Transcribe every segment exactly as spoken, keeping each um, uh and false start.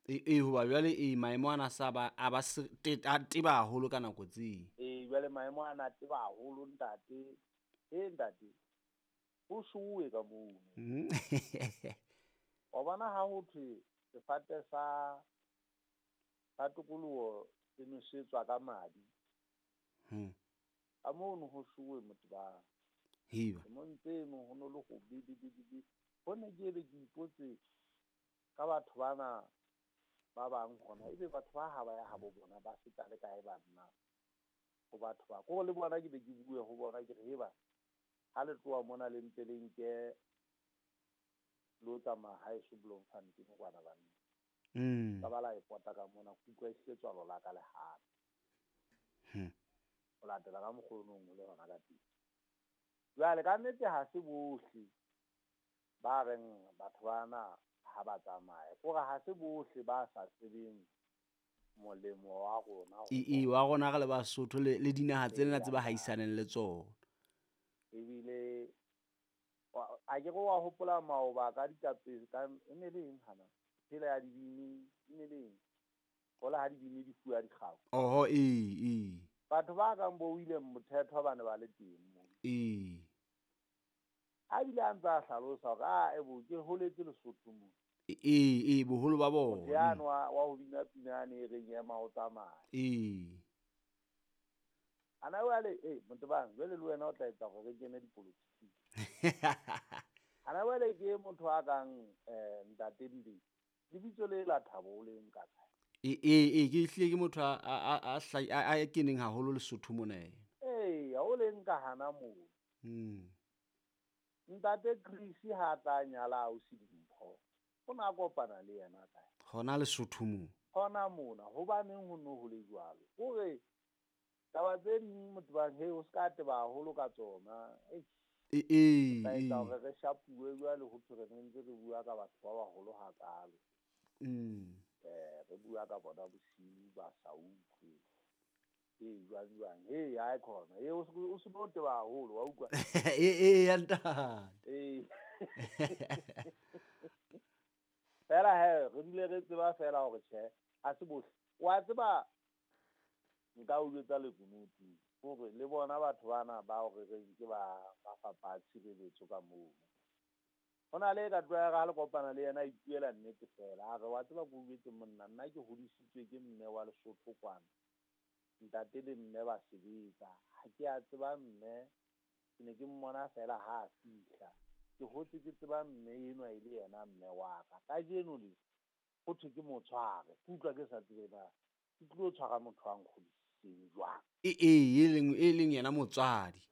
E e hoba jwale e maemo ana sa ba a ba a teba haholo ka nako tse. E jwale maemo ana a teba haholo ntate. E ntate. Ho shuwe ka mono. Wa bona ha ho thwe sefate sa sa tokoloho se nosetswa ka madi. Hmm. Ka mono ho shuwe motho ba. Hiba. Mo ntse no ho no le ho bi bi bi bi. Ho ne ke be ke ipotse ka batho bana ba bang hona ebe batho ba ha ba ya habo bona ba feta le kae banna ho batho ba ko le bona ke be ke bue ho bona ke re heba ha le tloha mona le ntse le nke lo tsamaya haeso Bloemfontein kwana banna. Mm. Ka ba la e pota ka mona ke utlwa e setswalo la ka le hape. Hmm. O latela ka mokgonong le hona ka teng. Jwale ka nnete ha se bohle ba reng batho bana ha ba tsamaye kore ha se bohle ba sa tsebeng molemo wa rona. E e wa rona re le Basotho le le dinaha tsena tse ba haisaneng le tsona. Ebile a ke re wa hopola maoba ka ditapeng ka e ne le eng hana phela ya dibini e ne le eng hola ha dibini di fuwa dikgau. Oho e e batho ba kang bo William Mothetho ba ne ba le teng mo. E a bile a ntse a hlalosa hore a ebo ke holetse Lesotho mo. E e boholo ba bona. Motho wa wa ho bina pina ne re ema o tsamaya. E ana jwale eh motho bang jwale le wena o tla etsa hore re kene dipolotiking. Ana jwale ke motho a kang eh ntate Mbe lebitso le la Thabo o le nka kae? E e e ke hlile ke motho a a a a keneng haholo Lesotho mona. Eh ha o le nka hana moo. Mm. Ntate Chris ha tla nyala o se dimpho. O na kopana le yena kae? Hona Lesotho mo. Hona mona hobaneng ho no ho le jwalo. O re taba tse ding motho bang he o ska teba haholo ka tsona. E e e etsa hore re shapuwe jwale ho thwe re ntse re bua ka batho ba baholo hakalo. Mm. Eh re bua ka bona bosiu ba sa utlwe. E jwang jwang he ha e khona. E o se no teba haholo wa utlwa. E e ya ntate. E fela he re dule re tseba fela hore tjhe ha se bohle. Wa tseba nka o jwetsa lekunutu hore le bona batho bana ba hore re ke ba ba fapa tshireletso ka moo. Hona le ka tloha ha le kopana le yena a ipuela nnete fela a re wa tseba ko jwetse monna nna ke hodisitswe ke mme wa Lesotho kwana. Ntate le mme ba sebetsa ha ke a tseba mme ke ne ke mmona fela ha a fihla. Ke hotse ke tseba mme enwa e le yena mme wa ka. Kajeno le ho thwe ke motshware ke utlwa ke sa tsebe na ke tlo tshwara motho wa nkgodisitseng jwang. E e e leng e leng yena motswadi.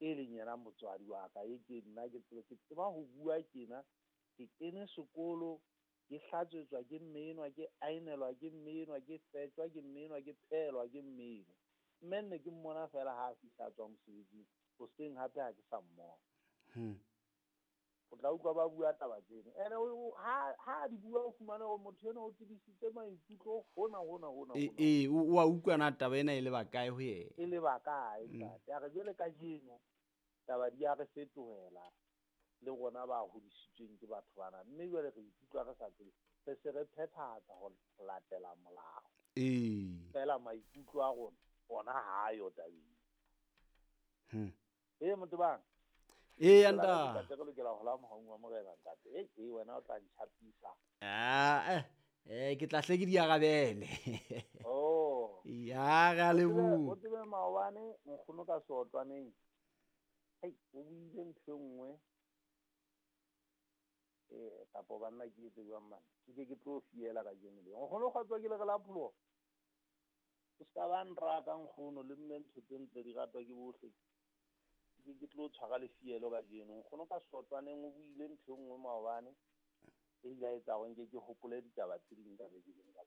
E leng yena motswadi wa ka e ke nna ke tseba ke tseba ho bua kena ke kene sekolo ke hlatswetswa ke mme enwa ke ainelwa ke mme enwa ke fetjwa ke mme enwa ke phelwa ke mme enwa. Mme nne ke mmona fela ha a fihla tswa mosebetsing hoseng hape ha ke sa mmona. Hmm. O tla utlwa ba bua taba tsena. Ene ha ha di bua o fumane hore motho ena o tsebisitse maikutlo hona hona hona. E e o a utlwa na taba ena e le ba kae ho yena? E le ba kae ntate. A re jwale kajeno taba di a re fetohela le rona ba hodisitsweng ke batho bana mme jwale re ikutlwa re sa tsebe re se re phethahatsa ho latela molao. E fela maikutlo a rona ona ha yo tabeng. Hmm. E motho bang E anda. Ntate re lokela ho la mohaung wa morena ntate. E e wena o tla ntjhapisa. Ah eh eh ke tla hle ke di arabele. Oh. Ya ra leboha. O tsebe maobane nkgono ka seotlwaneng. Hei o buile ntho e nngwe. Eh kapo banna ke etse jwang man. Ke ke tlo fiela ka jeno le. Nkgono kgotsa ke le re la pholoho. O ska ba nrata nkgono le mme ntho tse ntle di ratwa ke bohle. Ke ke tlo tshwara lefielo ka jeno nkgono ka seotlwaneng o buile ntho e nngwe maobane e ile ya etsa hore nke ke hopole ditaba tse ding ka beke ka.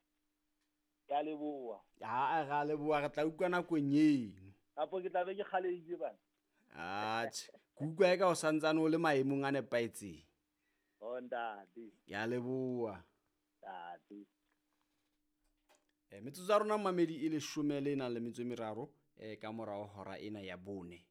Ke a leboha. Ha ra leboha re tla utlwa nakong eno. Kapo ke tla be ke kgalehile bana. Atjhe, ke utlwa eka o santsane o le maemong a nepahetseng. Oh ntate. Ke a leboha. Ntate. Eh metsotso ya rona mamedi e leshome le nang le metso e meraro eh ka morao hora ena ya bone.